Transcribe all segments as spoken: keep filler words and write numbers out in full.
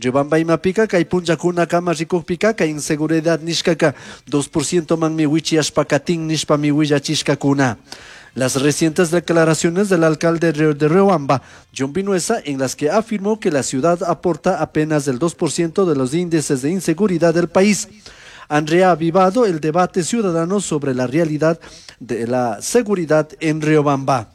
Riobamba imapika kay punllakunakama rikukpika kay inseguridad nishkaka dos por ciento manmi wichiyashpa katin nishpami willachishkakuna. Las recientes declaraciones del alcalde de Riobamba, John Vinuesa, en las que afirmó que la ciudad aporta apenas el dos por ciento de los índices de inseguridad del país, han reavivado el debate ciudadano sobre la realidad de la seguridad en Riobamba.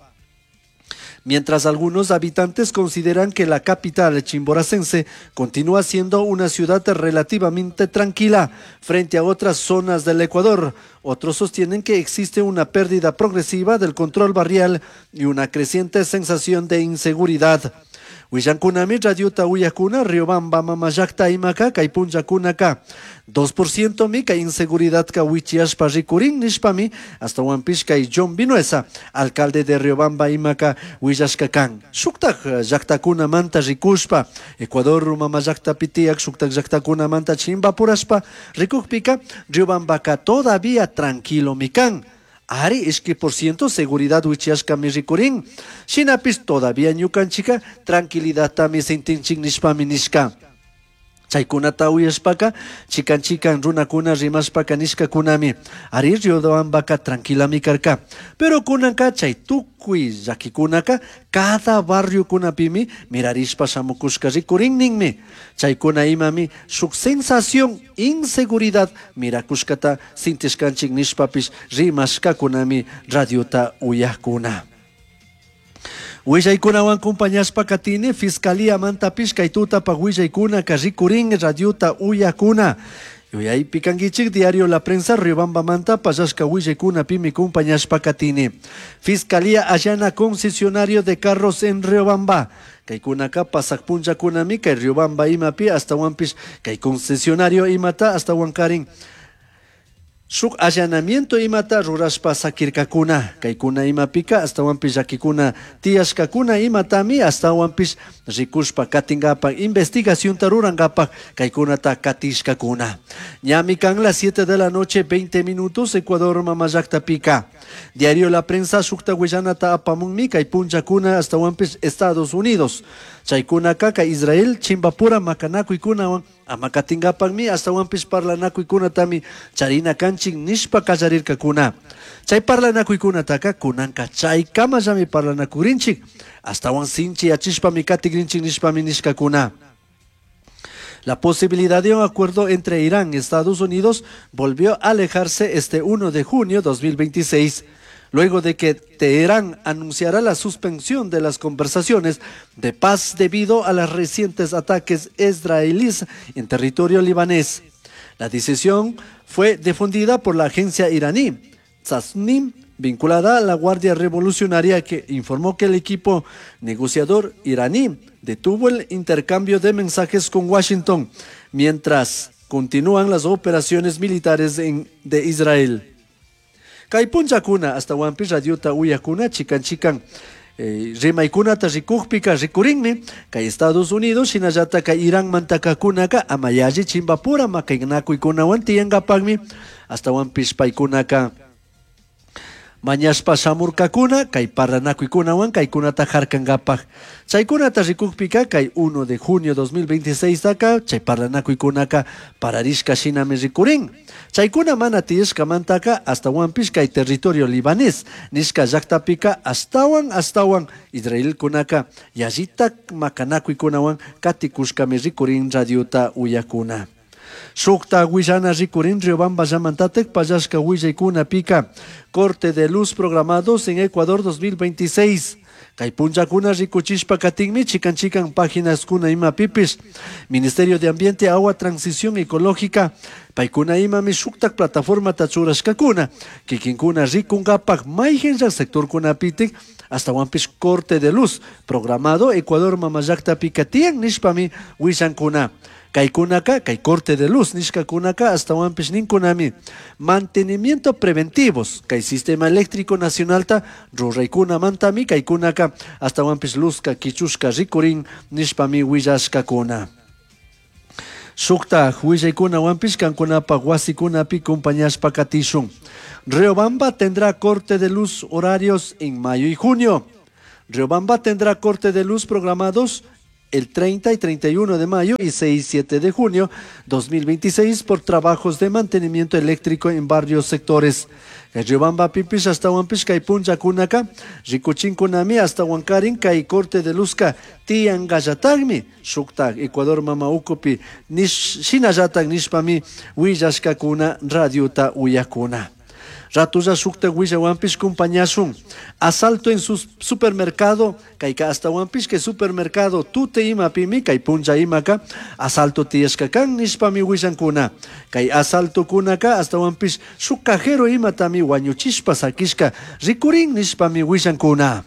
Mientras algunos habitantes consideran que la capital chimboracense continúa siendo una ciudad relativamente tranquila frente a otras zonas del Ecuador, otros sostienen que existe una pérdida progresiva del control barrial y una creciente sensación de inseguridad. Willankunami radiota uyakuna Riobamba mama llakta imaka kay punllakunaka dos por ciento mi kay inseguridad ka wichiashpa rikurin nishpami astawanpish kay John Vinuesa, alcalde de Riobamba imaka willashka kan. Shuktak llaktakunamanta rikushpa Ecuador mama llaktapi tiyak shuktak llaktakunamanta chimbapurashpa rikukpika Riobambaka todavía tranquilo mi kan. Ari, ishki por ciento seguridad wichiashka mi rikurin. Shinapis todavía ñukanchika tranquilidad tami sintinchik nishpami nishka. Chaykunata uyashpaka, chikan chikan runakuna rimashpaka nishkakunami. Ari Riobambaka tranquilami karka. Pero kunanka chay tukuy llakikunaka cada barrio kunapimi mirarishpa shamukushka rikurin ninmi. Chaykuna imami shuk sensación inseguridad mirakushkata sintishkanchik nishpapish rimashkakunami radiota uyakuna. Willaykunawan compañashpa katini, Fiscalía mantapish kay tutapa willaykuna rikurin radiota uyakuna. Yuyaypi kankichik diario La Prensa Riobamba manta pallashka willaykuna pimi compañashpa katini. Fiscalía allana concesionario de carros en Riobamba. Kaykunaka pasak punllakunami kay Riobamba imapi astawanpish kay concesionario imata astawankarin. Shuk allanamiento imata rurashpa sakirkakuna, kaykuna imapika astawanpish llakikuna tiyashkakuna imatami astawanpish rikushpa katinkapak investigacionta rurankapak kaykunata katishkakuna. Ñami kan las siete de la noche veinte minutos Ecuador mama llaktapika. Diario La Prensa shukta willanata apamunmi kay punllakuna astawanpish Estados Unidos. Chaykunaka kay Israel chimbapura makanakuykunawan ama katinkapakmi astawanpish parlanakuykunatami charina kanchik nishpa kallarirkakuna. Chay parlanakuykunataka kunanka chaykamallami parlanakurinchik astawan sinchi yachishpami katikrinchik nishpami nishkakuna. La posibilidad de un acuerdo entre Irán y Estados Unidos volvió a alejarse este uno de junio dos mil veintiséis, luego de que Teherán anunciara la suspensión de las conversaciones de paz debido a los recientes ataques israelíes en territorio libanés. La decisión fue difundida por la agencia iraní Tasnim, vinculada a la Guardia Revolucionaria, que informó que el equipo negociador iraní detuvo el intercambio de mensajes con Washington mientras continúan las operaciones militares en, de Israel. Kay punllakuna astawanpish radiota uyakuna chikan chikan, eh, rimaykunata rikukpika rikurinmi kay Estados Unidos shinallata kay Irán mantakakunaka amayalli chimbapura makaynakuykunawan tiyankapakmi astawanpish paykunaka mañashpa shamurkakuna kay parlanakuykunawan kaykunata harkankapak. Chaykunata rikukpika kay uno de junio dos mil veintiséis taka chay parlanakuykunaka pararishka shinami rikurin. Chaykuna mana tiyashkamantaka astawanpish kay territorio libanés nishka llaktapika astawan astawan israelkunaka yallita makanakuykunawan katikushkami rikurin radiota uyakuna. Shukta willana rikurin Riobamba llamantatek pallashka willaykunapika corte de luz programados en Ecuador dos mil veintiséis. Kay punllakuna rikuchishpa katinmi chikan chikan páginas kuna ima pipis. Ministerio de Ambiente, Agua, Transición Ecológica, paykuna imami shuktak plataforma tachurashkakuna, kikinkuna rikunkapak mayhenlla sector kunapitik astawanpish corte de luz programado Ecuador mama llaktapika tiyan nishpami willankuna. Kaykunaka, kay corte de luz nishkakunaka astawanpish ninkunami mantenimiento preventivos kay sistema eléctrico nacionalta ruraykunamantami kaykunaka astawanpish luzka kichushka rikurin nishpami willashkakuna. Shukta willaykunawanpish kankunapaq wasikunapi compañashpa katishun. Riobamba tendrá corte de luz horarios en mayo y junio. Riobamba tendrá corte de luz programados El treinta y treinta y uno de mayo y seis y siete de junio dos mil veintiséis por trabajos de mantenimiento eléctrico en varios sectores. Riobambapipish ashtahuanpish kay punllakunaka rikuchinkunami ashtahuankarin kay corte de luzka tiyangallatagmi shuktak Ecuador mama ukupi nish, shinallatak nishpami willashkakuna radiota uyakuna. Ratulla shukta willawanpish kumpañashun. Asalto en su supermercado, kayka ashtawanpish kay supermercado Tute imapimi kay punlla imaka asalto tiyashka kan nishpami willankuna. Kay asaltokunaka ashtawanpish shuk cajero imatami wañuchishpa sakishka rikurin nishpami willankuna.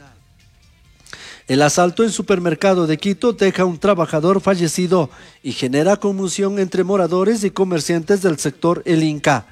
El asalto en supermercado de Quito deja un trabajador fallecido y genera conmoción entre moradores y comerciantes del sector El Inca.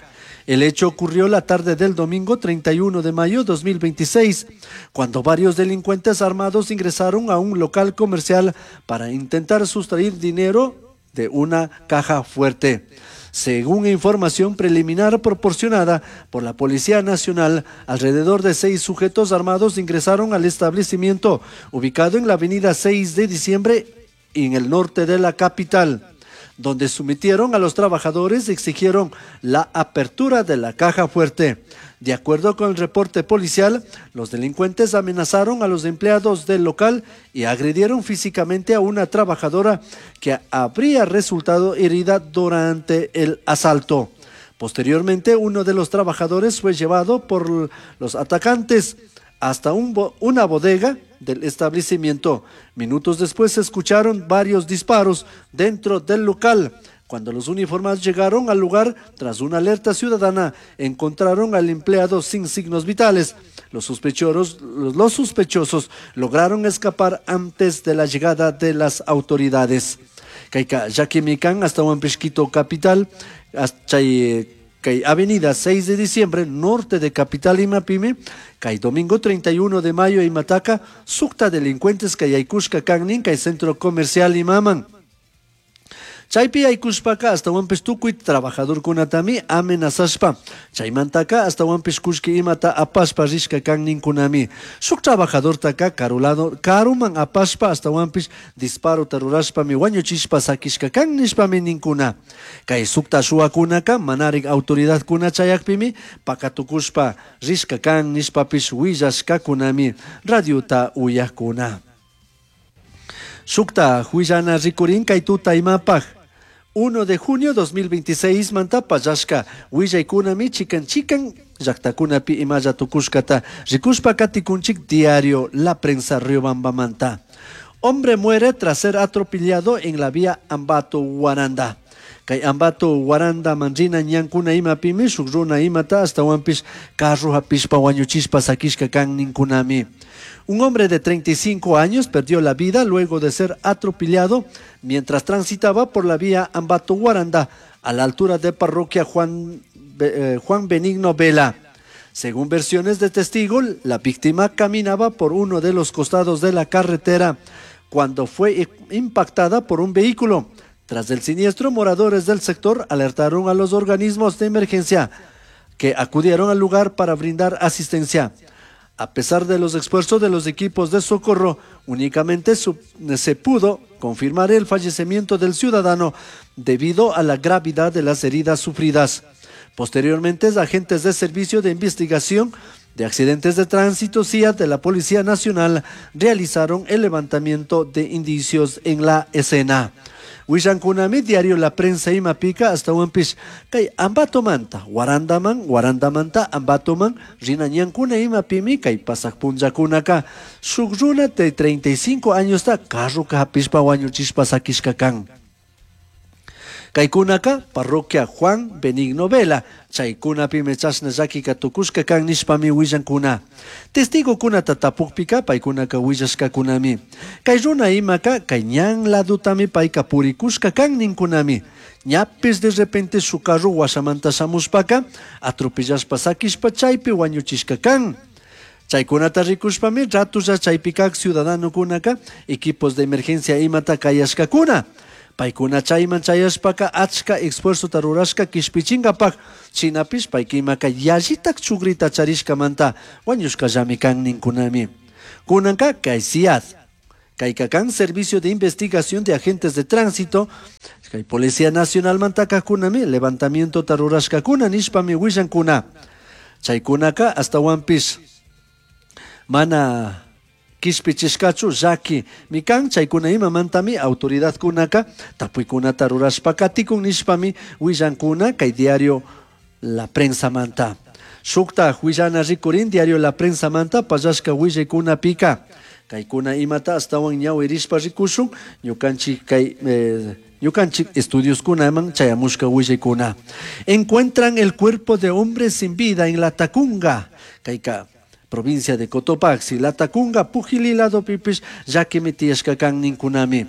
El hecho ocurrió la tarde del domingo treinta y uno de mayo dos mil veintiséis, cuando varios delincuentes armados ingresaron a un local comercial para intentar sustraer dinero de una caja fuerte. Según información preliminar proporcionada por la Policía Nacional, alrededor de seis sujetos armados ingresaron al establecimiento ubicado en la avenida seis de diciembre en el norte de la capital, donde sometieron a los trabajadores y exigieron la apertura de la caja fuerte. De acuerdo con el reporte policial, los delincuentes amenazaron a los empleados del local y agredieron físicamente a una trabajadora que habría resultado herida durante el asalto. Posteriormente, uno de los trabajadores fue llevado por los atacantes hasta un bo una bodega del establecimiento. Minutos después se escucharon varios disparos dentro del local. Cuando los uniformados llegaron al lugar, tras una alerta ciudadana, encontraron al empleado sin signos vitales. Los sospechosos, los sospechosos lograron escapar antes de la llegada de las autoridades. Kayka llakimi kan ashtahuanpish Quito capital, chay kay avenida seis de diciembre, norte de capital imapimi, kay domingo treinta y uno de mayo imataka, sukta delincuentes kay yaykushka kan nin kay centro comercial imaman. Chaypi yaykushpaka ashtahuanpish tukuy trabajadorkunatami amenazashpa. Chaymantaka ashtahuanpish kullki imata apashpa rishka kan ninkunami. Shuk trabajadortaka karulado karuman apashpa ashtahuanpish disparota rurashpami wañuchishpa sakishka kan nishpami ninkuna. Kay sukta shuwakunaka manarik autoridadkuna chayakpimi pakatukushpa rishka kan nishpapish willashkakunami radiota uyakuna. Shukta huillana rikurin kay tuta imapaj. uno de junio dos mil veintiséis manta pallashka willaykunami chikan chikan llaktakunapi imalla tukushkata rikushpa katikunchik diario La Prensa Riobambamanta. Hombre muere tras ser atropellado en la vía Ambato Guaranda. Kay Ambato Guaranda man rina ñankuna imapimi shuk runa imata ashtahuanpish carro hapishpa wañuchishpa sakishka kan ninkunami. Un hombre de treinta y cinco años perdió la vida luego de ser atropellado mientras transitaba por la vía Ambato Guaranda a la altura de parroquia Juan, eh, Juan Benigno Vela. Según versiones de testigos, la víctima caminaba por uno de los costados de la carretera cuando fue impactada por un vehículo. Tras el siniestro, moradores del sector alertaron a los organismos de emergencia que acudieron al lugar para brindar asistencia. A pesar de los esfuerzos de los equipos de socorro, únicamente se pudo confirmar el fallecimiento del ciudadano debido a la gravedad de las heridas sufridas. Posteriormente, agentes de Servicio de Investigación de Accidentes de Tránsito, SIAT, de la Policía Nacional realizaron el levantamiento de indicios en la escena. Willankunami diario La Prensa imapika ashtahuanpish kay Ambatomanta Guarandaman, Guarandamanta Ambatoman rina ñankuna imapimi kay pasak punllakunaka shuk runa de treinta y cinco años ta carroka hapishpa wañuchishpa sakishka kan. Kaykunaka parroquia Juan Benigno Vela chaykunapimi chashna llakika tukushka kan nishpami willankuna. Testigokunata tapukpika paykunaka willashkakunami. Kay runa imaka kay ñan ladutami payka purikushka kan ninkunami. Ñapis de repente su carro washamanta shamushpaka atropellashpa sakishpa chaypi wañuchishka kan. Chaykunata rikushpami ratulla chaypikak ciudadanokunaka equipos de emergencia imata kayashkakuna. Paykuna chayman chayashpaka achka esfuerzota rurashka kishpichinkapak shinapish paykimaka yallitak chugrita charishkamanta wañushkallami kan ninkunami. Kunanka kay SIAD Kayka kan Servicio de Investigación de Agentes de Tránsito, kay Policía Nacional mantakajkunami levantamiento rurashkakuna nishpami willankuna. Chaykunaka ashtawanpish mana kishpichishkachu llaki mikan chaykuna imamantami autoridadkunaka tapuykunata rurashpa katikun nishpami willankuna kay diario La Prensa manta. Shukta willana rikurin diario La Prensa manta pallashka willaykunapika. Kaykuna imata ashtawan ñawirishpa rikushun ñukanchik kay eh, ñukanchik estudioskunaman chayamushka willaykuna. Encuentran el cuerpo de hombre sin vida en La Tacunga. Kayka provincia de Cotopaxi, La Tacunga, Pujilí lado pipish, llakimi tiyashka kan ninkunami.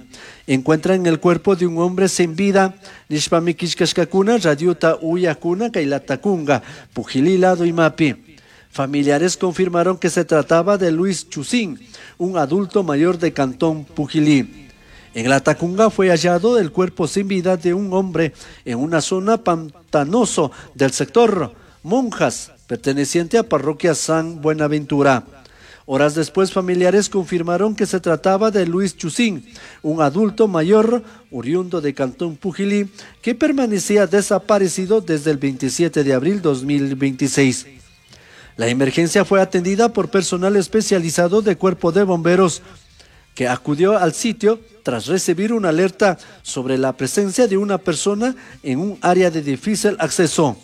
Encuentran el cuerpo de un hombre sin vida, nishpami killkashkakuna, radiota uyakuna, kay La Tacunga, Pujilí lado imapi. Familiares confirmaron que se trataba de Luis Chusín, un adulto mayor de Cantón Pujilí. En La Tacunga fue hallado el cuerpo sin vida de un hombre en una zona pantanoso del sector Monjas, perteneciente a parroquia San Buenaventura. Horas después, familiares confirmaron que se trataba de Luis Chusín, un adulto mayor oriundo de Cantón Pujilí, que permanecía desaparecido desde el veintisiete de abril dos mil veintiséis. La emergencia fue atendida por personal especializado de Cuerpo de Bomberos, que acudió al sitio tras recibir una alerta sobre la presencia de una persona en un área de difícil acceso.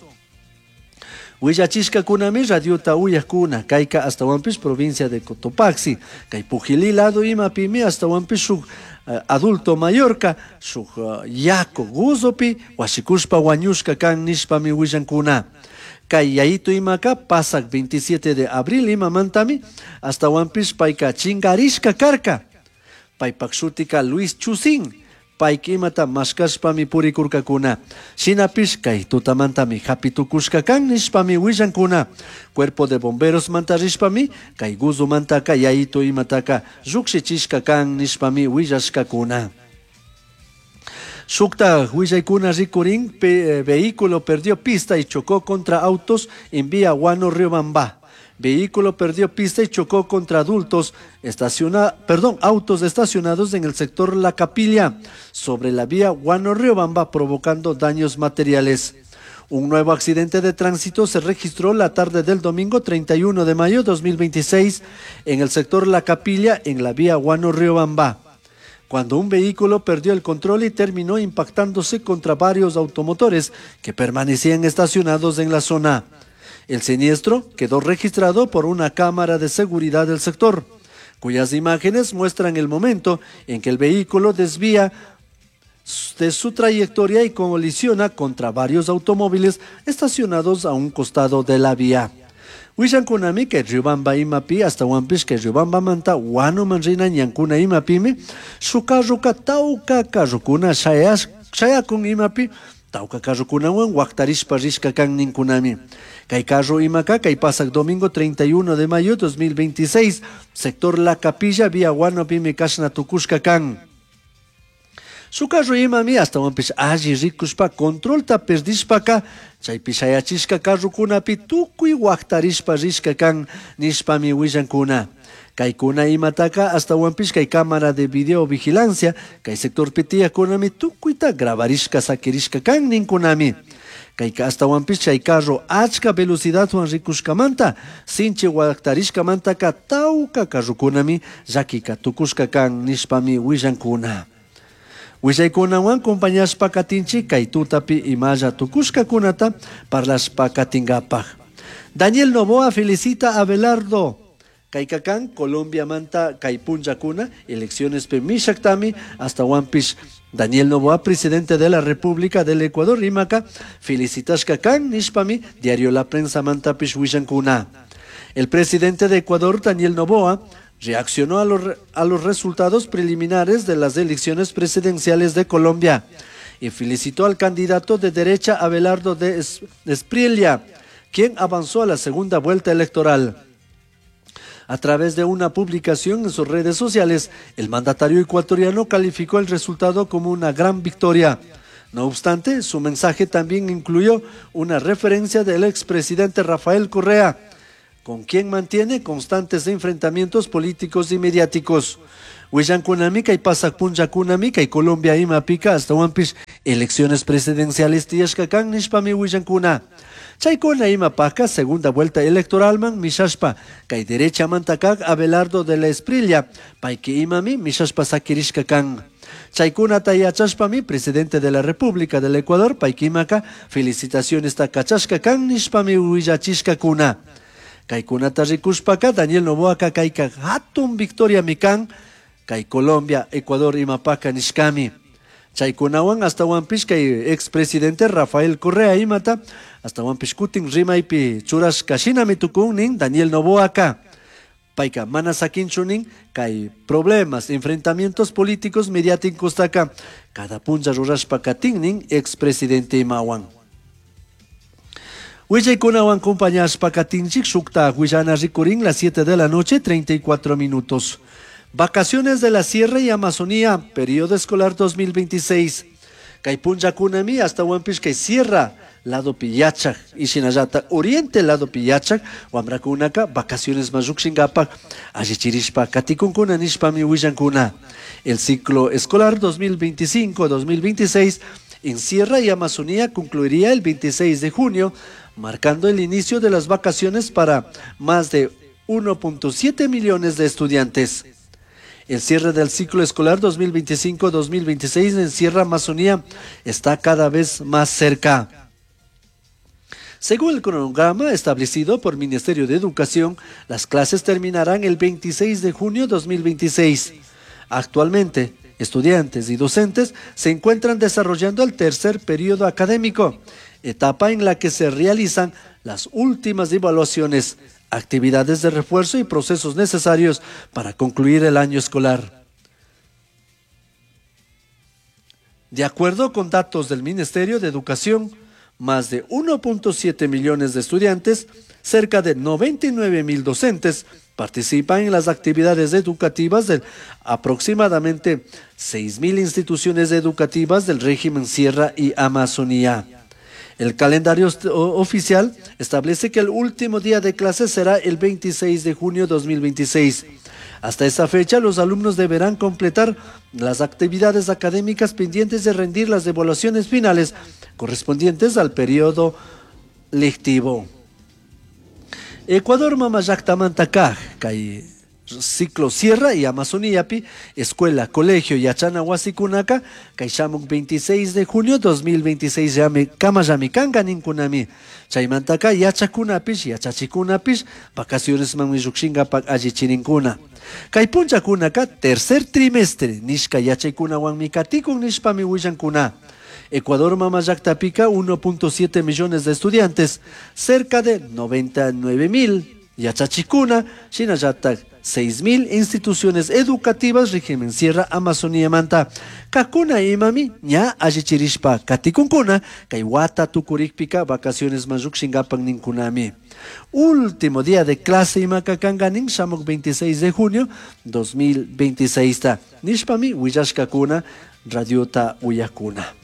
Willachishkakunami radiota uyakuna, kayka ashtawanpish provincia de Cotopaxi, kay Pujilí lado imapimi ashtawanpish shuk, eh, adulto mayorka, shuk, eh, yaku guzopi, washikushpa wañushka kan nishpami willankuna. Kay yayito imaka pasak veintisiete de abril imamantami ashtawanpish payka chingarishka karka. Paypak shutika Luis Chusín, payka imata mashkashpami purikurkakuna. Shinapish kay tutamantami hapitukushka kan nishpami willankuna. Cuerpo de bomberos mantarishpami kay guzumantaka yayito imataka llukshichishka kan nishpami willashkakuna. Shukta willaykuna rikurin, pe-, eh, vehículo perdió pista y chocó contra autos en vía Guano Riobamba. Vehículo perdió pista y chocó contra adultos estaciona-, perdón, autos estacionados en el sector La Capilla, sobre la vía Guano Riobamba, provocando daños materiales. Un nuevo accidente de tránsito se registró la tarde del domingo treinta y uno de mayo de dos mil veintiséis en el sector La Capilla, en la vía Guano Riobamba, cuando un vehículo perdió el control y terminó impactándose contra varios automotores que permanecían estacionados en la zona. El siniestro quedó registrado por una cámara de seguridad del sector, cuyas imágenes muestran el momento en que el vehículo desvía de su trayectoria y colisiona contra varios automóviles estacionados a un costado de la vía. Wishankunami que Riobamba imapi hasta Huampish que Riobamba manta Huano manrina ñankuna imapimi shukarruka tauka karrukuna shayas shayakun imapi tauka karrukunawan waktarishpa rishka kan ninkunami. Kay carro imaka kay pasak domingo treinta y uno de mayo dos mil veintiséis sector La Capilla vía Huano pimi kashna tukushka kan. Su carro imami hasta Huampish alli rikushpa controlta perdishpaka chaypi shayachishka karrukunapi tukuy waktarishpa rishka kan nishpami willankuna. Kaykuna imataka hasta Huampish kay cámara de videovigilancia kay sector pitiyakunami tukuyta grabarishka sakirishka kan ninkunami. Kayka hasta Huampish chay carro achka velocidadwan rikushkamanta sinchi waktarishkamantaka tawka karrukunami llakika tukushka kan nishpami willankuna. Willaykunawan compañashpa katinchi kay tutapi imalla tukushkakunata parlashpa katingapaj. Daniel Noboa felicita a Abelardo. Kaykakan Colombia manta kay punllakuna elecciones pe mishaktami hasta Huampish. Daniel Noboa, presidente de la República del Ecuador, rimaka felicitashka kan nishpami diario La Prensa mantapish willankuna. El presidente de Ecuador, Daniel Noboa, reaccionó a los re-, a los resultados preliminares de las elecciones presidenciales de Colombia y felicitó al candidato de derecha Abelardo de Es-, Espriella, quien avanzó a la segunda vuelta electoral. A través de una publicación en sus redes sociales, el mandatario ecuatoriano calificó el resultado como una gran victoria. No obstante, su mensaje también incluyó una referencia del expresidente Rafael Correa, con quien mantiene constantes enfrentamientos políticos y mediáticos. Willankunami kay pasaq punllakunami kay Colombia imapika astawanpish elecciones presidenciales tiyashka kan nishpami willankuna. Chaykuna imapaka segunda vuelta electoralman mishashpa kay derechamanta kaq Abelardo de la Espriella payki imami mishashpa sakirishka kan. Chaykunata yachashpami presidente de la República del Ecuador payki imaka felicitaciones ta kachashka kan nishpami willachishkakuna. Kaykunata rikushpaka Daniel Noboaka kayka hatun victoria mikan kay Colombia, Ecuador imapaka nishkami. Chaykunawan astawanpish kay expresidente Rafael Correa imata astawanpish kutin rimaypi churashka shinami tukun nin Daniel Noboaka. Payka mana sakinchu nin kay problemas, enfrentamientos políticos mediáticos taka cada punlla rurashpa katin nin expresidente imawan. Willaykunawan compañashpa katinchik shukta willana rikurin las siete de la noche treinta y cuatro minutos. Vacaciones de la Sierra y Amazonía, periodo escolar dos mil veintiséis. Kay punllakunami astawanpish kay Sierra lado piyachak y shinallata Oriente lado piyachak wamrakunaka vacaciones mayukshinkapak allichirishpa katikunkuna nishpami willankuna. El ciclo escolar dos mil veinticinco dos mil veintiséis en Sierra y Amazonía concluiría el veintiséis de junio, marcando el inicio de las vacaciones para más de uno punto siete millones de estudiantes. El cierre del ciclo escolar dos mil veinticinco dos mil veintiséis en Sierra Amazonía está cada vez más cerca. Según el cronograma establecido por el Ministerio de Educación, las clases terminarán el veintiséis de junio dos mil veintiséis. Actualmente, estudiantes y docentes se encuentran desarrollando el tercer periodo académico, etapa en la que se realizan las últimas evaluaciones, actividades de refuerzo y procesos necesarios para concluir el año escolar. De acuerdo con datos del Ministerio de Educación, más de uno punto siete millones de estudiantes, cerca de noventa y nueve mil docentes participan en las actividades educativas de aproximadamente seis mil instituciones educativas del régimen Sierra y Amazonía. El calendario est-, o-, oficial establece que el último día de clase será el veintiséis de junio dos mil veintiséis. Hasta esa fecha, los alumnos deberán completar las actividades académicas pendientes de rendir las evaluaciones finales correspondientes al periodo lectivo. Ecuador mamallaktamanta kaj, kay ciclo Sierra y Amazonía pi, escuela, colegio yachana wasikunaka, kay shamuk veintiséis de junio dos mil veintiséis llame, kama llame kanga ninkunami. Chaymantaka yachakunapish, yachachikunapish, vacaciones man llukshinkapak allichirinkuna. Kay punchakunaka tercer trimestre, nishka yachaykunawanmi katikun nishpami willankuna. Ecuador mamallaktapika uno punto siete millones de estudiantes, cerca de noventa y nueve mil yachachikuna, shinallatak seis mil instituciones educativas régimen Sierra Amazonía manta. Kakuna imami ña allichirishpa katikunkuna, kay wata tukurikpika vacaciones mayukshinkapak ninkunami. Último día de clase imakakanganin shamuk veintiséis de junio dos mil veintiséis ta. Nishpami willashkakuna radiota uyakuna.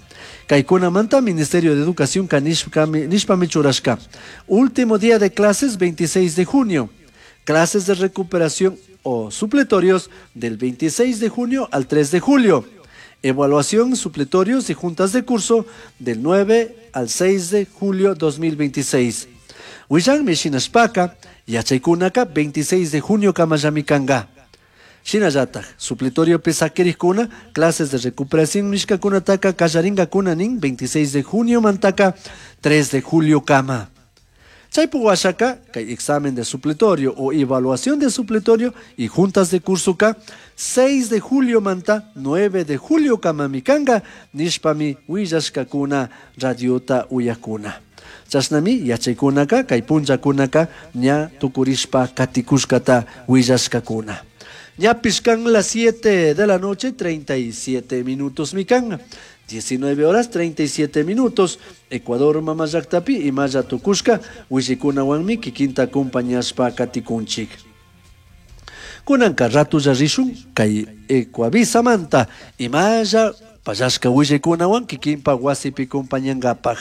Kaikuna manta Ministerio de Educación ka nishpami, nishpami churashka. Último día de clases veintiséis de junio. Clases de recuperación o supletorios del veintiséis de junio al tres de julio. Evaluación, supletorios y juntas de curso del nueve al seis de julio dos mil veintiséis. Willan Mishinashpaka, Yachaykunaka, veintiséis de junio Kamayamikanga. Shinallataj, supletorio pesaquerikuna, clases de recuperación mishkakunataka, kallaringakuna nin, veintiséis de junio mantaka, tres de julio kama. Chaypuwashaka, kay examen de supletorio o evaluación de supletorio y juntas de curso ka, seis de julio manta, nueve de julio kamamikanga, nishpami willashkakuna, radiota uyakuna. Chashnami yachaykunaka, kay punllakunaka, ña tukurishpa katikushkata willashkakuna. Ñapishkan las siete de la noche, treinta y siete minutos mikan. diecinueve horas treinta y siete minutos. Ecuador mamallaktapi y maya tukushka, wishikuna wanmi kikinta compañashpa katikunchik. Kunanka ratu yarishun kay Ecuavisa manta y maya payashka wishikuna wan kikinpa wasipi compañangapaj.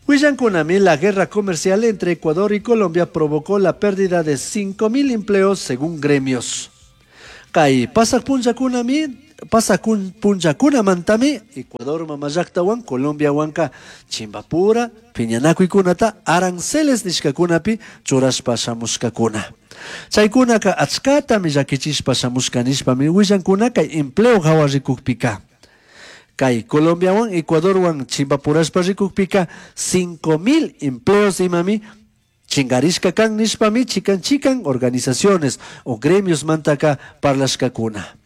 Willankunami, la guerra comercial entre Ecuador y Colombia provocó la pérdida de cinco mil empleos según gremios. Kay pasaq punllakunami pasaq punllakunamantami Ecuador mama llaqtawan Colombiawanka chimbapura piñanakuykunata aranceles nishkakunapi churashpa shamushkakuna. Chaykunaka achkatami llakichishpa shamushka nishpami willankuna kay empleo hawa rikukpika. Kay Colombiawan Ecuadorwan chimbapurashpa rikukpika cinco mil empleos imami chingarishka kan nishpami chikan chikan organizaciones o gremios mantaka parlashkakuna.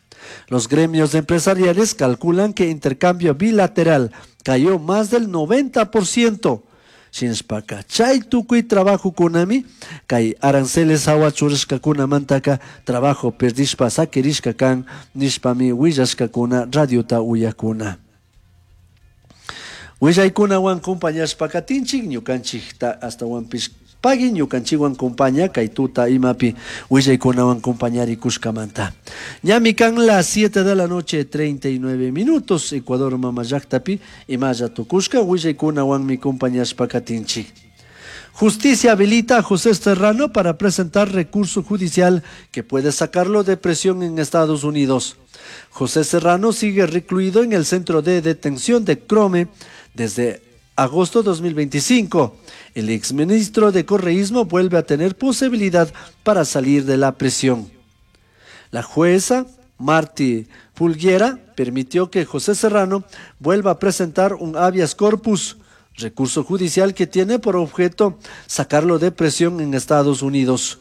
Los gremios empresariales calculan que intercambio bilateral cayó más del noventa por ciento. Shinashpaka chay tukuy trabajo kunami kay aranceles hawa churashkakunamantaka trabajo perdishpa sakirishka kan nishpami willashkakuna radiota uyakuna. Willaykunawan compañashpa katinchik ñukanchikta hasta wanpish pagui ñukanchikwan compaña kay tuta imapi willaykunawan compañarikushkamanta. Ñami kan las siete de la noche treinta y nueve minutos Ecuador mama llaqtapi imalla tukushka willaykunawanmi compañashpa katinchik. Justicia habilita a José Serrano para presentar recurso judicial que puede sacarlo de prisión en Estados Unidos. José Serrano sigue recluido en el centro de detención de Krome desde agosto dos mil veinticinco. El exministro de Correísmo vuelve a tener posibilidad para salir de la prisión. La jueza Marty Fulguera permitió que José Serrano vuelva a presentar un habeas corpus, recurso judicial que tiene por objeto sacarlo de prisión en Estados Unidos.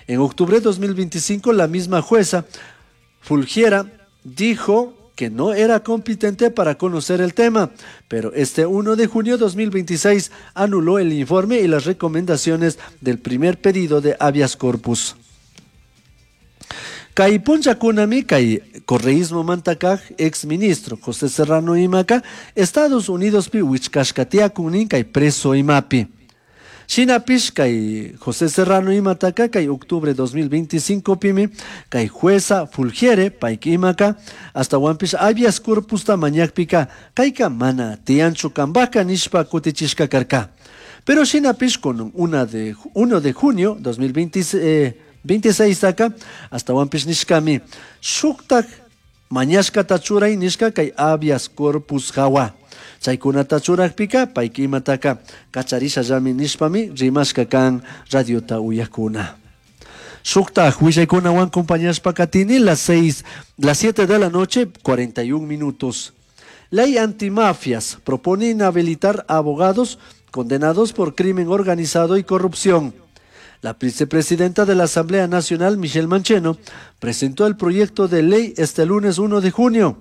En octubre de dos mil veinticinco, la misma jueza Fulguera dijo que no era competente para conocer el tema, pero este uno de junio de dos mil veintiséis anuló el informe y las recomendaciones del primer pedido de habeas corpus. Kay punllakunami kay correísmo mantakaj ex ministro José Serrano imaka Estados Unidos pi wichkashkatiakunin kay preso imapi. Shinapish kay José Serrano imataka kay octubre dos mil veinticinco pimi kay jueza Fulgiere payki imaka hasta wanpish habeas corpusta mañakpika kayka mana tiyanchu kambaka nishpa kutichishka karka. Pero shinapish con una de, uno de junio dos mil veintiséis taka hasta wanpish nishkami shuktak mañashkata churay nishka kay habeas corpus hawa. Chaykunata churakpika payki imataka kacharishallami nishpami rimashka kan radiota uyakuna. Shuktaj willaykunawan compañashpa katini las seis, las siete de la noche, cuarenta y un minutos. Ley antimafias propone inhabilitar a abogados condenados por crimen organizado y corrupción. La vicepresidenta de la Asamblea Nacional, Michelle Mancheno, presentó el proyecto de ley este lunes uno de junio.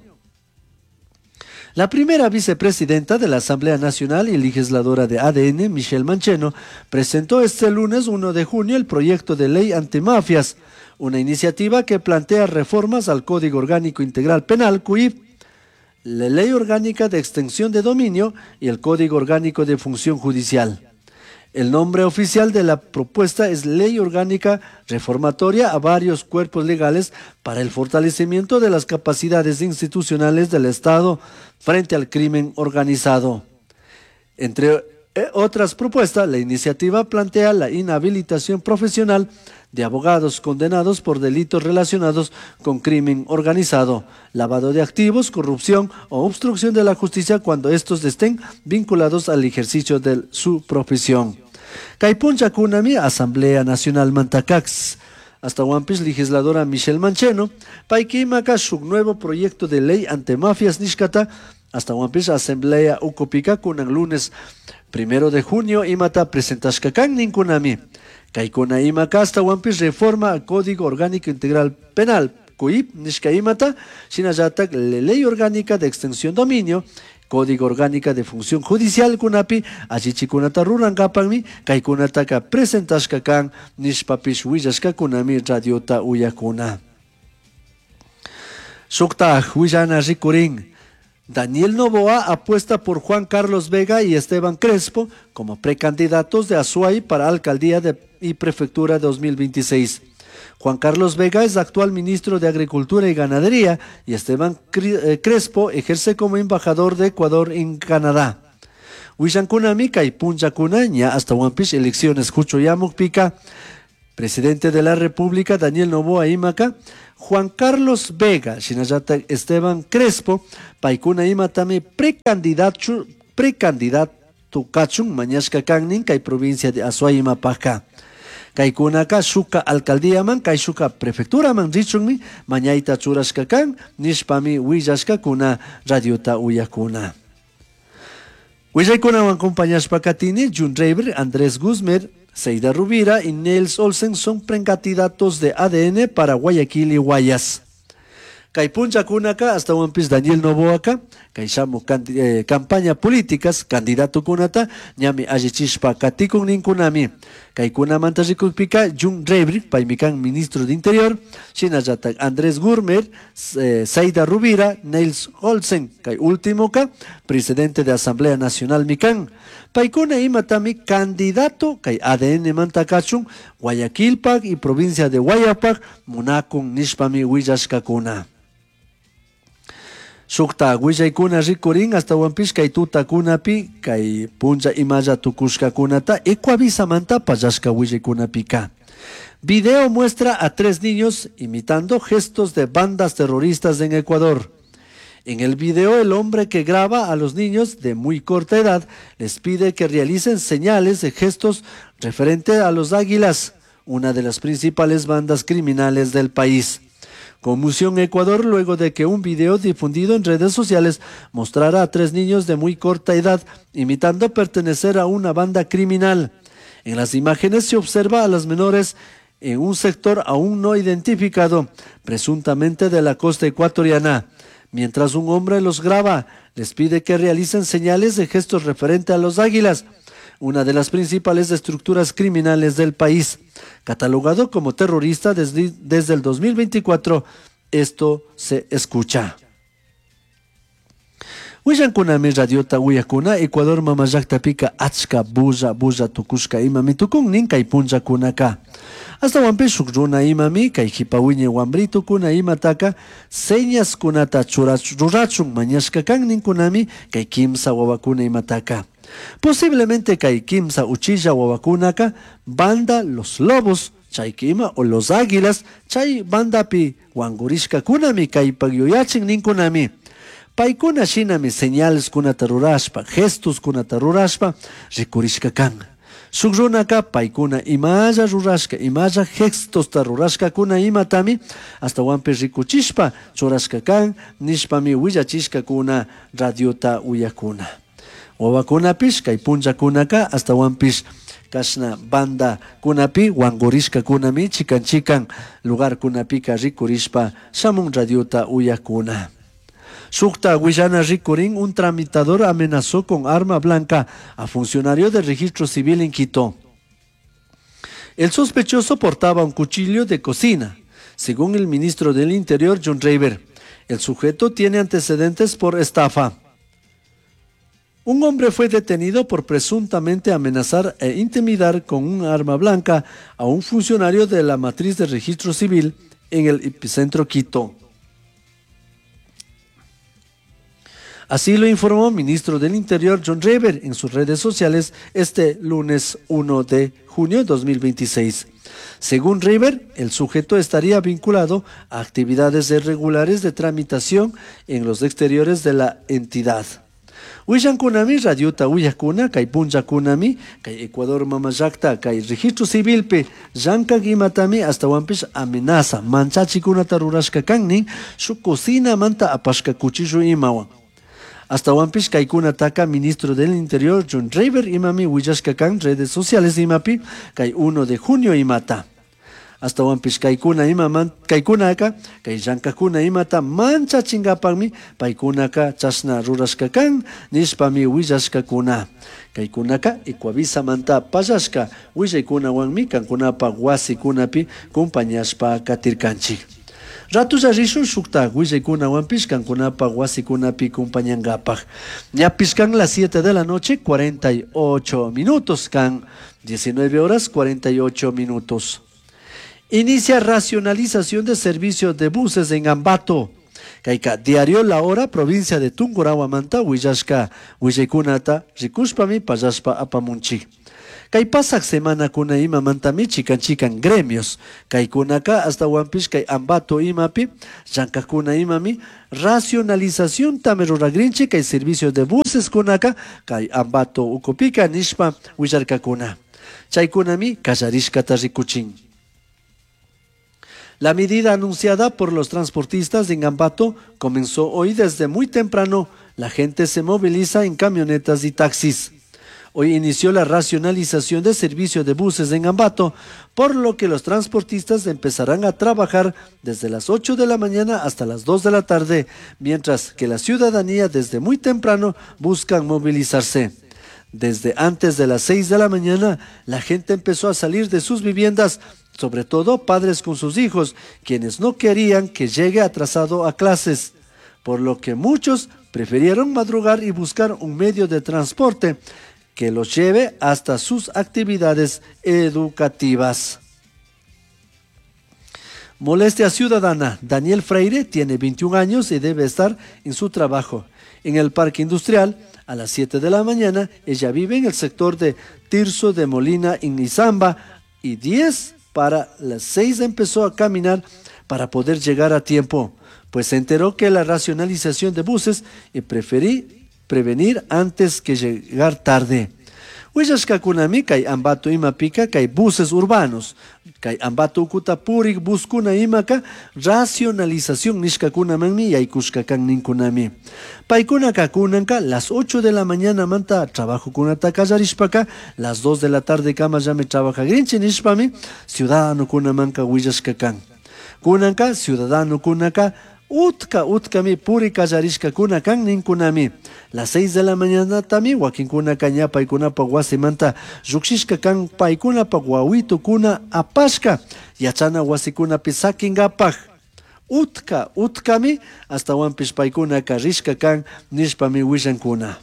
La primera vicepresidenta de la Asamblea Nacional y legisladora de A D N, Michelle Mancheno, presentó este lunes uno de junio el proyecto de ley antimafias, una iniciativa que plantea reformas al Código Orgánico Integral Penal, C U I P, la Ley Orgánica de Extinción de Dominio y el Código Orgánico de Función Judicial. El nombre oficial de la propuesta es Ley Orgánica Reformatoria a varios cuerpos legales para el fortalecimiento de las capacidades institucionales del Estado frente al crimen organizado. Entre, eh, otras propuestas, la iniciativa plantea la inhabilitación profesional de abogados condenados por delitos relacionados con crimen organizado, lavado de activos, corrupción o obstrucción de la justicia cuando estos estén vinculados al ejercicio de su profesión. Kay punllakunami Asamblea Nacional Mantacax. Hasta Huampis, legisladora Michelle Mancheno, payki imaka shuk nuevo proyecto de ley antimafias nishkata, hasta Huampis Asamblea ukupika kunan lunes primero de junio imata presentashkakan ninkunami. Kaykuna imaka hasta Huampis reforma al Código Orgánico Integral Penal, C U I P, nishka imata, shinallatak Ley Orgánica de Extinción Dominio, Código Orgánica de Función Judicial kunapi, allichikunata rurankapanmi, kaykunataka presentashkakan, nishpapish willashkakunami radiota uyakuna. Shuktaj willana rikurin. Daniel Noboa apuesta por Juan Carlos Vega y Esteban Crespo como precandidatos de Azuay para alcaldía de, y prefectura dos mil veintiséis. Juan Carlos Vega es actual ministro de Agricultura y Ganadería y Esteban Cri-, eh, Crespo ejerce como embajador de Ecuador en Canadá. Wishankunami kay punllakunaña hasta Huampish elecciones Huchoyamukpika Presidente de la República Daniel Noboa imaka Juan Carlos Vega shinallatak Esteban Crespo paykuna imatami precandidato precandidato kachun mañashka kannin kay provincia de Azuay imapajka. Kaykunaka shuka alcaldíaman kay shuka prefecturaman richunmi mañayta churashka kan nishpami willashkakuna radiota uyakuna. Willaykunawan acompañashpa katini Jhon Reyber, Andrés Guzmán, Zaida Rubira y Nels Olsen son precandidatos de A D N para Guayaquil y Guayas. Kay punchakunaka astawanpis Daniel Noboaka kay shamuj eh, campaña políticas candidatokunata ñami allichishpa katikun ninkunami. Kaykunamanta rikukpika Jhon Reyber paymi kan ministro de Interior, shinallatak Andrés Gurmer, eh, Zaida Rubira, Nels Olsen, kay último ka presidente de Asamblea Nacional mi kan. Paykuna imatami candidato kay A D N manta kachun Guayaquilpak y provincia de Guayapak munakun nishpami willashkakuna. Shukta willaykuna rikurin astawanpish kay tutakunapi kay punlla imalla tukushkakunata Ecuavisamanta pallashka willaykunapika. Video muestra a tres niños imitando gestos de bandas terroristas en Ecuador. En el video, el hombre que graba a los niños de muy corta edad les pide que realicen señales de gestos referente a los Águilas, una de las principales bandas criminales del país. Conmoción Ecuador luego de que un video difundido en redes sociales mostrara a tres niños de muy corta edad imitando pertenecer a una banda criminal. En las imágenes se observa a las menores en un sector aún no identificado, presuntamente de la costa ecuatoriana. Mientras un hombre los graba, les pide que realicen señales de gestos referente a los Águilas, una de las principales estructuras criminales del país. Catalogado como terrorista desde, desde el dos mil veinticuatro, esto se escucha. Willankunami radiota uyakuna Ecuador mama llaktapika achka bulla bulla tukushka imami tukun nin kay punllakunaka. Astawanpish shuk runa imami kay jipa wiñay wambritukuna imataka señaskunata rurachun mañashka kan ninkunami kay kimsa wawakuna imataka. Posiblemente kay kimsa uchilla wawakunaka banda Los Lobos chay kima o Los Águilas chay bandapi wangurishkakunami kaypak yuyachin ninkunami. Paykuna shinami señales kunata rurashpa, gestos kunata rurashpa rikurishka kan. Shuk runaka paykuna imalla rurashka, imalla gestosta rurashkakuna imatami astawanpish rikuchishpa churashka kan nishpami willachishkakuna radiota uyakuna. Wawakunapish kay punllakunaka astawanpish kashna banda kunapi wangurishkakunami chikan chikan lugar kunapika rikurishpa shamun radiota uyakuna. Shukta willana rikurin, un tramitador amenazó con arma blanca a funcionario del registro civil en Quito. El sospechoso portaba un cuchillo de cocina, según el ministro del Interior, Jhon Reyber. El sujeto tiene antecedentes por estafa. Un hombre fue detenido por presuntamente amenazar e intimidar con un arma blanca a un funcionario de la matriz de registro civil en el epicentro Quito. Así lo informó el ministro del Interior, Jhon Reyber, en sus redes sociales este lunes uno de junio de dos mil veintiséis. Según Reyber, el sujeto estaría vinculado a actividades irregulares de tramitación en los exteriores de la entidad. Willankunami radiota uyakuna kay punllakunami kay Ecuador mama llakta kay registro civilpi llankak imatami astawanpish amenaza manchachikunata rurashka kan nin shuk cocinamanta apashka cuchillo imawan. Astawanpish kaykunataka ministro del Interior Jhon Reyber imami willashka kan redes sociales imapi kay uno de junio imata. Astawanpish kaykuna ima kaykunaka kay llankakuna imata manchachinkapakmi paykunaka chashna rurashka kan nishpami willashkakuna. Kaykunaka Ecuavisamanta pallashka willaykunawanmi kankunapak wasikunapi kumpañashpa katirkanchik. Ratulla rishun shukta willaykunawanpish kankunapak wasikunapi kumpañankapak. Ñapish kan las siete de la noche, cuarenta y ocho minutos kan, diecinueve horas cuarenta y ocho minutos. Inicia racionalización de servicio de buses en Ambato. Kayka diario La Hora, provincia de Tungurahua manta, willashka willaykunata rikushpami pallashpa apamunchik. Kay pasaq semanakuna imamantami chikan chikan gremios kaykunaka astawanpish kay Ambato imapi llankakuna imami racionalizaciontami ruragrinchik kay servicio de buses kunaka kay Ambato ukupika nishpa willarkakuna. Chaykunami kallarishkata rikuchin. La medida anunciada por los transportistas en Ambato comenzó hoy desde muy temprano. La gente se moviliza en camionetas y taxis. Hoy inició la racionalización de servicio de buses en Ambato, por lo que los transportistas empezarán a trabajar desde las ocho de la mañana hasta las dos de la tarde, mientras que la ciudadanía desde muy temprano buscan movilizarse. Desde antes de las seis de la mañana, la gente empezó a salir de sus viviendas, sobre todo padres con sus hijos, quienes no querían que llegue atrasado a clases, por lo que muchos prefirieron madrugar y buscar un medio de transporte que los lleve hasta sus actividades educativas. Molestia ciudadana. Daniel Freire tiene veintiún años y debe estar en su trabajo en el parque industrial a las siete de la mañana. Ella vive en el sector de Tirso de Molina en Izamba y diez para las seis empezó a caminar para poder llegar a tiempo, pues se enteró que la racionalización de buses y preferí prevenir antes que llegar tarde. Willashkakunami kay Ambato imapika kay buses urbanos, kay Ambato ukuta purik buskuna imaka racionalización nishkakunamanmi yaykushka kan ninkunami. Paykunaka kunanka las ocho de la mañana manta trabajokunata kallarishpaka las dos de la tarde kama llami trabajagrinchi nishpami ciudadanokunamanka willashka kan. Kunanka ciudadanokunaka utka utkami puri kallarishkakuna kan ninkunami. Las seis de la mañana tami wakinkunaka ña paykunapa wasimanta llukshishka kan paykunapa wawitukuna apashka yachana wasikunapi sakinkapaj. Utka utkami astawanpish paykunaka rishka kan nishpami willankuna.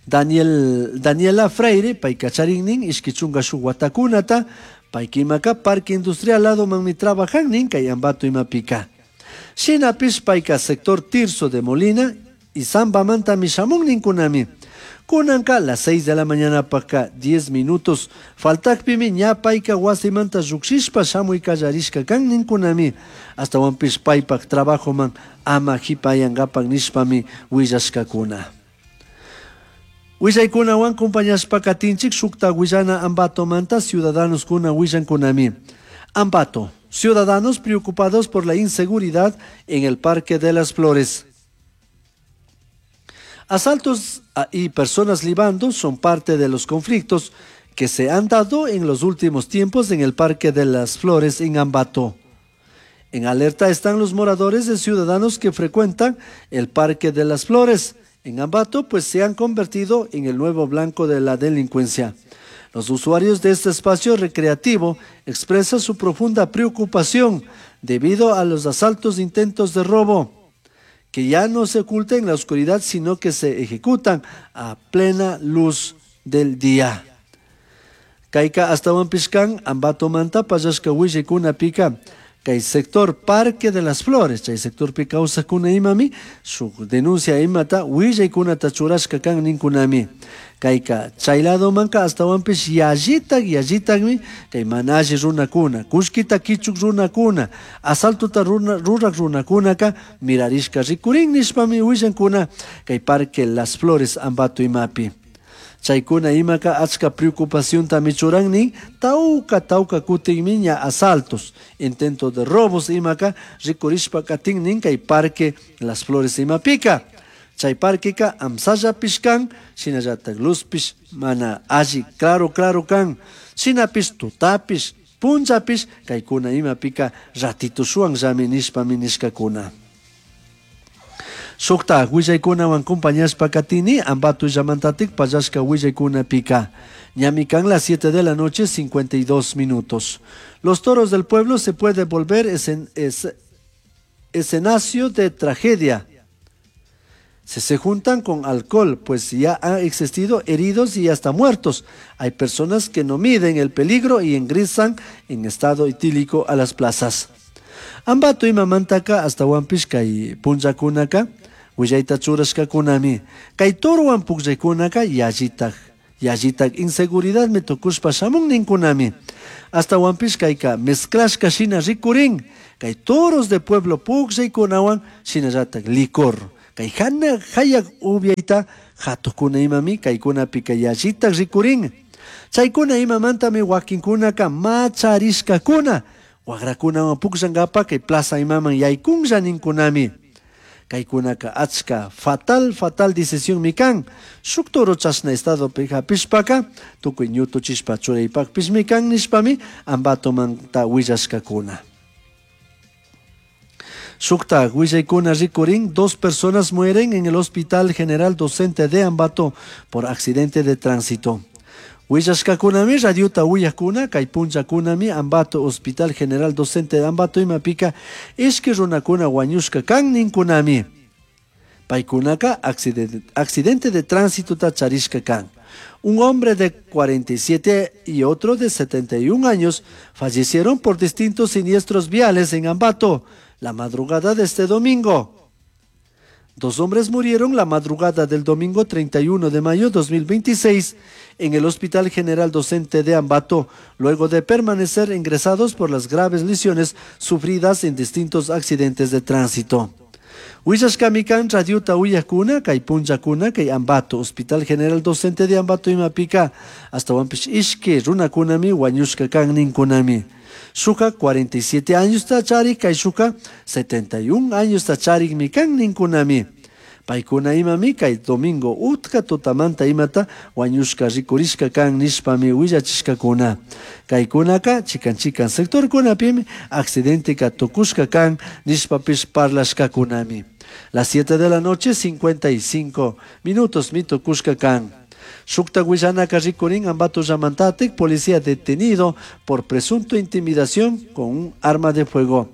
Daniel, Daniela Freire payka charinnin ishki chunka shuk watakunata paykimaka parque industrial lado manmi trabajan nin kay Ambato imapika. Shinapish payka sector Tirso de Molina y Zambamantami shamun ninkunami. Kunanka las seis de la mañana paka diez minutos faltakpimi ña payka wasimanta llukshishpa shamuy kallarishka kan ninkunami. Astawanpish paypak trabajoman ama hipayankapak nishpami willashkakuna. Willaykunawan compañashpa katinchik shukta willana Ambatomanta ciudadanos kuna willankunami. Ambato, ciudadanos preocupados por la inseguridad en el Parque de las Flores. Asaltos y personas libando son parte de los conflictos que se han dado en los últimos tiempos en el Parque de las Flores en Ambato. En alerta están los moradores de ciudadanos que frecuentan el Parque de las Flores en Ambato, pues se han convertido en el nuevo blanco de la delincuencia. Los usuarios de este espacio recreativo expresan su profunda preocupación debido a los asaltos e intentos de robo, que ya no se ocultan en la oscuridad, sino que se ejecutan a plena luz del día. Kayka astawanpish kan Ambato manta pallashka willaykunapika kay sector Parque de las Flores, chay sectorpi kawsakuna imami shuk denuncia imata willaykunata churashka kan ninkunami. Kayka chay ladomanka astawanpish yallitak yallitakmi kay mana alli runakuna, kullkita kichuk runakuna, asaltota runa, rurak runakunaka mirarishka rikurin nishpami willankuna kay Parque Las Flores Ambato imapi. Chaykuna imaka achka preocupaciontami churan nin, tawka tawka kutinmi ña asaltos, intento de robos imaka rikurishpa katin nin kay Parque Las Flores imapika. Chay parqueka amsallapish kan, shinallatak luzpish mana alli claro claro kan, shinapish tutapish punllapish kaykuna imapika ratito shuwanllami nishpami nishkakuna. Shukta willaykunawan compañashpa katini Ambato llamantatik pallashka willaykunapika. Ñami kan las siete de la noche cincuenta y dos minutos. Los toros del pueblo se puede volver escen-, es-, escenario de tragedia. Se, se juntan con alcohol, pues ya han existido heridos y hasta muertos. Hay personas que no miden el peligro y ingresan en estado etílico a las plazas. Ambato imamantaka hasta Huampishka kay punllakunaka willayta churashkakunami. Kay toruwan pukllaykunaka yallitak Yallitak inseguridadmi tukushpa shamun ninkunami. Ashtawanpish kayka mezclashka shina rikurin, kay toros de pueblo pukllaykunawan shinallatak licor. Kay hana hayak upiayta hatukuna imami kaykunapika yallitak rikurin. Chaykuna imamantami wakinkunaka macharishkakuna, wakrakunawan pukllankapa kay plaza imaman yaykunlla ninkunami. Kaykunaka achka fatal, fatal decisionmi kan. Shuk toro chashna estadopi hapishpaka tukuy ñutuchishpa churaypakpishmi kan nishpami Ambatomanta willashkakuna. Shuktak willaykuna rikurin, dos personas mueren en el Hospital General Docente de Ambato por accidente de tránsito. Willashkakunami radiota uyakuna kay punllakunami Ambato Hospital General Docente de Ambato imapika ishki runakuna wañushka kan ninkunami. Paykunaka accidente, accidente de tránsito ta charishka kan. Un hombre de cuarenta y siete y otro de setenta y un años fallecieron por distintos siniestros viales en Ambato la madrugada de este domingo. Dos hombres murieron la madrugada del domingo treinta y uno de mayo de dos mil veintiséis en el Hospital General Docente de Ambato, luego de permanecer ingresados por las graves lesiones sufridas en distintos accidentes de tránsito. Willashkamikan radiota uyakuna, kay punllakuna, kay Ambato, Hospital General Docente de Ambato imapika, hasta ishki runakunami wañushka kan ninkunami. Shuka cuarenta y siete años tachari, kay shuka setenta y un años tachari mi kan ninkunami. Paykuna imami kay domingo utka tutamanta imata wañushka rikurishka kan nishpami willachishkakuna. Kaykunaka chikan chikan sectorkunapimi accidenteka tukushka kan nishpapish parlashkakunami. Las siete de la noche cincuenta y cinco minutos mi tukushka kan. Shukta willanaka rikurin Ambato llamantatek, policía detenido por presunto intimidación con un arma de fuego.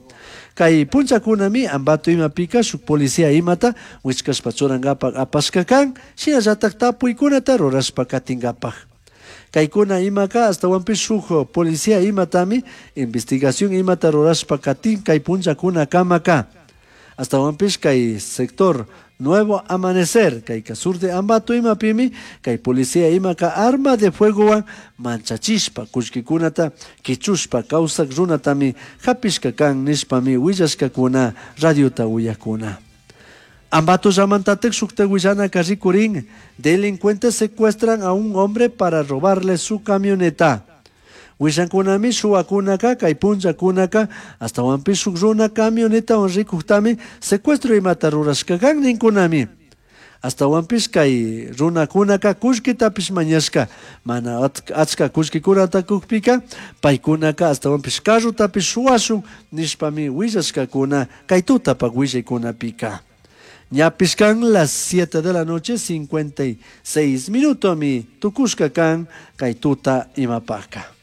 Kay punchakunami Ambato imapika shuk policía imata wichkashpa churankapak apashka kan, shinallatak tapuykunata rurashpa katinkapak. Kaykuna imaka astawanpish shuk policía imatami investigación imata rurashpa katin kay punchakuna kamaka. Astawanpish kay sector Nuevo Amanecer, kay sur de Ambato imapimi, kay policía imaka arma de fuegowan manchachishpa, kullkikunata kichushpa, kawsak runatami hapishka kan nishpami willashkakuna radiota uyakuna. Ambato llamantatek shukta willanaka rikurin, delincuentes secuestran a un hombre para robarle su camioneta. Willankunami shuwakunaka kay punllakunaka astawanpish shuk runa camionetawan rikuktami secuestro imata rurashka kan ninkunami. Astawanpish kay runakunaka kullkitapish mañashka, mana achka kullkikunata kukpika paykunaka astawanpish carrutapish shuwashun nishpami willashkakuna kay tutapak willaykunapika. Ñapish kan las siete de la noche cincuenta y seis minutos mi tukushka kan kay tuta imapaka.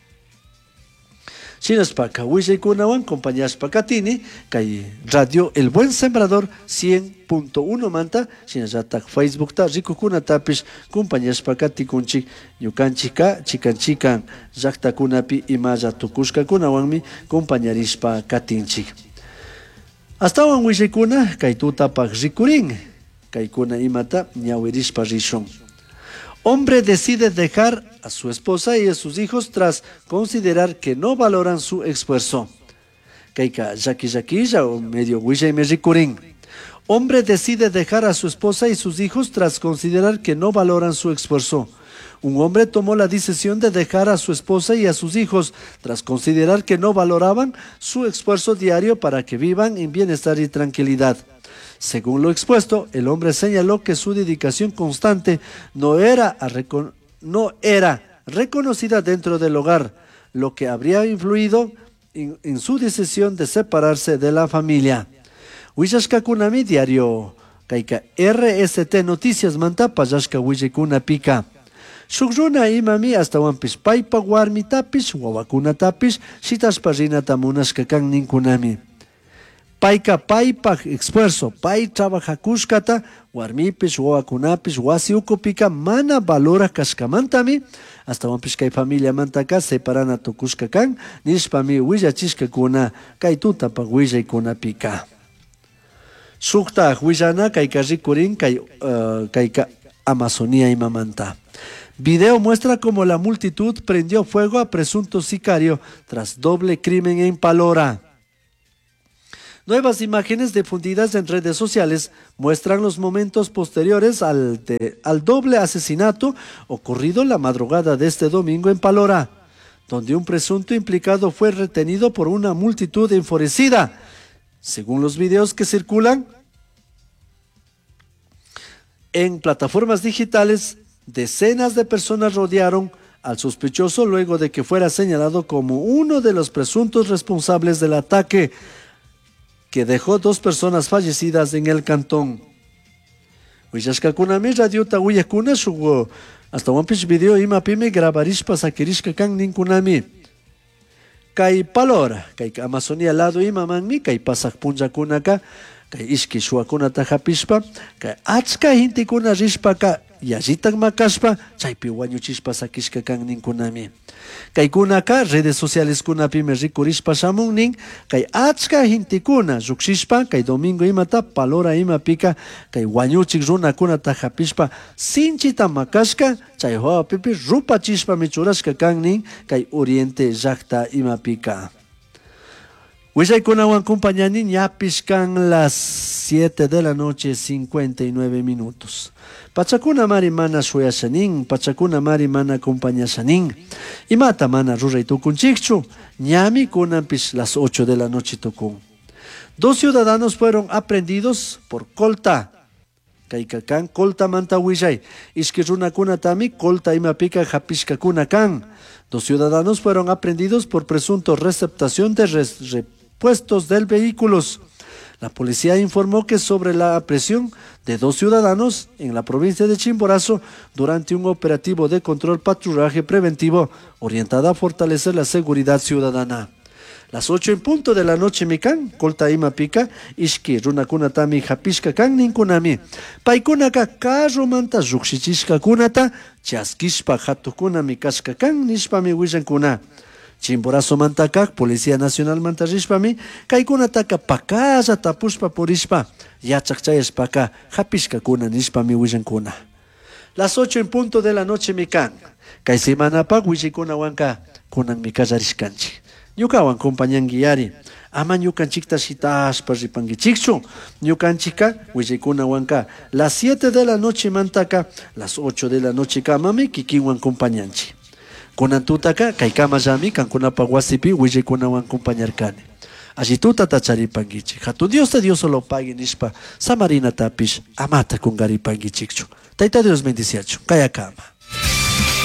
Shinaspaka willaykunawan compañashpa katini kay Radio El Buen Sembrador cien punto uno manta shinallatak Facebookta rikukunatapish compañashpa katikunchik ñukanchika chikan chikan llaktakunapi imalla tukushkakunawanmi compañarishpa katinchik. Astawan willaykuna kay tutapak rikurin kaykuna imata ñawirishpa rishun. Hombre decide dejar a su esposa y a sus hijos tras considerar que no valoran su esfuerzo. Kaika yaki yakilla o medio huilla y me ricurín. Hombre decide dejar a su esposa y sus hijos tras considerar que no valoran su esfuerzo. Un hombre tomó la decisión de dejar a su esposa y a sus hijos tras considerar que no valoraban su esfuerzo diario para que vivan en bienestar y tranquilidad. Según lo expuesto, el hombre señaló que su dedicación constante no era, a recon-, no era reconocida dentro del hogar, lo que habría influido en, en su decisión de separarse de la familia. Huillashkakunami diario Kaika R S T Noticias manta pallashka willikuna pika. Shuk runa imami astawanpish paypa warmitapish wawakunatapish shitashpa rinata munashka kan ninkunami. Payka paypaj esfuerzo, pay trabajakushkata, warmipish, wawakunapish, wasi ukupika mana valora kashkamantami, astawanpish kay familiamantaka separana tukushka kan, nishpami willachishkakuna kay tutapak willaykunapika. Shuktaj willana kayka rikurin kay, uh, kayka Amazonía imamanta. Video muestra cómo la multitud prendió fuego a presunto sicario tras doble crimen en Palora. Nuevas imágenes difundidas en redes sociales muestran los momentos posteriores al, de, al doble asesinato ocurrido la madrugada de este domingo en Palora, donde un presunto implicado fue retenido por una multitud enfurecida. Según los videos que circulan en plataformas digitales, decenas de personas rodearon al sospechoso luego de que fuera señalado como uno de los presuntos responsables del ataque que dejó dos personas fallecidas en el cantón. Willashkakunami radiota uyakuna shuk ashtawanpish video imapimi grabarishpa sakirishka kan ninkunami. Kay Palora, kay Amazonía lado imamanmi kay pasaq punllakunaka kay ishki shuwakunata hapishpa kay achka gentekuna rishpaka yallitak makashpa chaypi wañuchishpa sakishka kan ninkunami. Kaykunaka redes sociales kunapimi rikurishpa shamun nin kay achka gentekuna llukshishpa kay domingo imata Palora imapika kay wañuchik runakunata hapishpa sinchita makashka chay hawapipi rupachishpami churashka kan nin kay Oriente llakta imapika. Willaykunawan compañani ñapish kan las siete de la noche cincuenta y nueve minutos. Pachakuna mari mana shuyashanin, pachakuna mari mana acompañashanin. Imata mana ruray tukunchikchu, ñami kunanpish las ocho de la noche tukun. Dos ciudadanos fueron aprehendidos por Colta. Kayka kan Colta manta willay. Ishki runakunatami Colta imapika hapishkakuna kan. Dos ciudadanos fueron aprehendidos por presunto receptación de res-, repuestos del vehículos. La policía informó que sobre la aprehensión de dos ciudadanos en la provincia de Chimborazo durante un operativo de control patrullaje preventivo orientada a fortalecer la seguridad ciudadana. Las ocho en punto de la noche mikan, Colta ima pica, ishki runakunatami hapishka kan ninkunami. Paykunaka carromanta llukshichishka kunata, chaskishpa hatukunami kashka kan nishpami willankuna. Chimborazo mantakak, Policía Nacional mantarishpami, kaykunataka pakalla tapushpa purishpa, yachak chayashpaka hapishka kuna nishpami willankuna. Las ocho en punto de la noche mikan, kay semanapak willikunawanka kunan mikallarishkanchik. Ñukawan compañanguiari, ama ñukanchikta shitashpa ripanguichikchu, ñukanchika willikunawanka las siete de la noche mantaka, las ocho de la noche kamami kikinwan compañanchi. Kunan tutaka kay kamallami kankunapa wasipi willikunawan compañarkani. Allí tutata charipanguichik. Hatun Dios te Dios solo pague nishpa samarinatapish amata kungaripanguichikchu. Tayta Dios bendiciachu. Kayakama.